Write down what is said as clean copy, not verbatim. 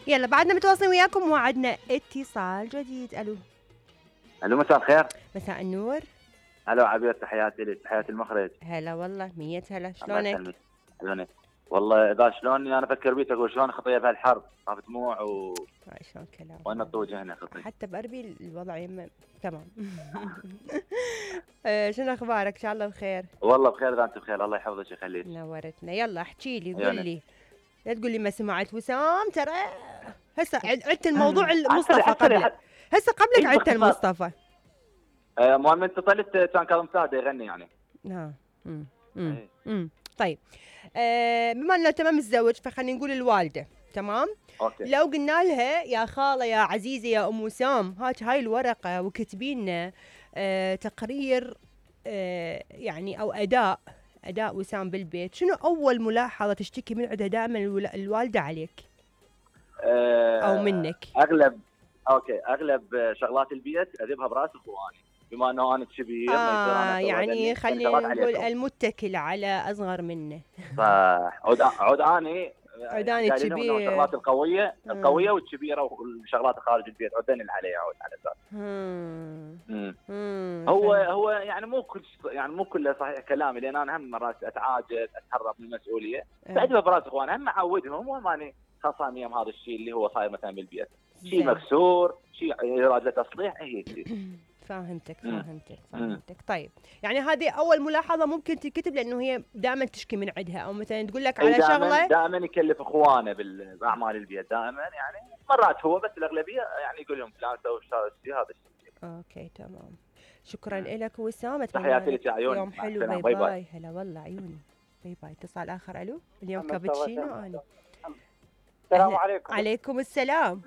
يلا بعدنا متواصلين وياكم وعدنا اتصال جديد. الو. الو مساء الخير. مساء النور. الو عبير، تحياتي لك، تحياتي المخرج. هلا والله، مية هلا، الله شلونك؟ يسلمك. شلونك؟ والله اذا شلوني انا افكر بيك اقول شلون خطيه بهالحرب، طاف دموع شلون كلام وين الطوج هنا خطي. حتى بأربيل الوضع يمه تمام. شنو اخبارك؟ ان شاء الله بخير. والله بخير، اذا انت بخير الله يحفظك ويخليك. نورتنا. يلا احكي لي، قول يعني. لي، لا تقول لي ما سمعت وسام، ترى هسه عدت الموضوع المصطفى قبل، هسه قبلك عدت المصطفى. المهم انت طلعت كان كاظم ساده يغني يعني. طيب بما انه تمام متزوج فخلينا نقول الوالده تمام. أوكي. لو قلنا لها يا خاله يا عزيزه يا ام وسام هاي الورقه وكتبي لنا تقرير يعني او اداء وسام بالبيت، شنو اول ملاحظه تشتكي من عندها دائما الوالده عليك او منك؟ اغلب شغلات البيت اذبها براس اخواني، بما انه انا كبير ما يصير انا يعني خلينا نقول المتكل على اصغر منه. صح. عود اني الكبير، الشغلات القويه والكبيره والشغلات خارج البيت عدني اللي علي عود على اساس. هو يعني مو كله صحيح كلامي، لان انا هم مرات اتعاجز اتهرب من المسؤوليه، فاجيبها براس اخواني، هم معودهم، مو ماني خاصان يم هذا الشيء اللي هو صاير مثلا بالبيت، شيء مكسور، شيء يراد له تصليح، هي شيء. فهمتك. طيب يعني هذه اول ملاحظه ممكن تكتب، لانه هي دائما تشكي من عندها، او مثلا تقول لك على شغله دائما يكلف اخوانه باعمال البيت دائما، يعني مرات هو بس الاغلبيه يعني يقول لهم فلان سوي الشيء هذا الشيء. اوكي تمام، شكرا لك وسام، تحياتي لك يا عيوني، يوم حلو، باي باي. هلا والله عيوني، باي باي. اتصال اخر. الو، اليوم كابتشينو انا. السلام عليكم. عليكم السلام.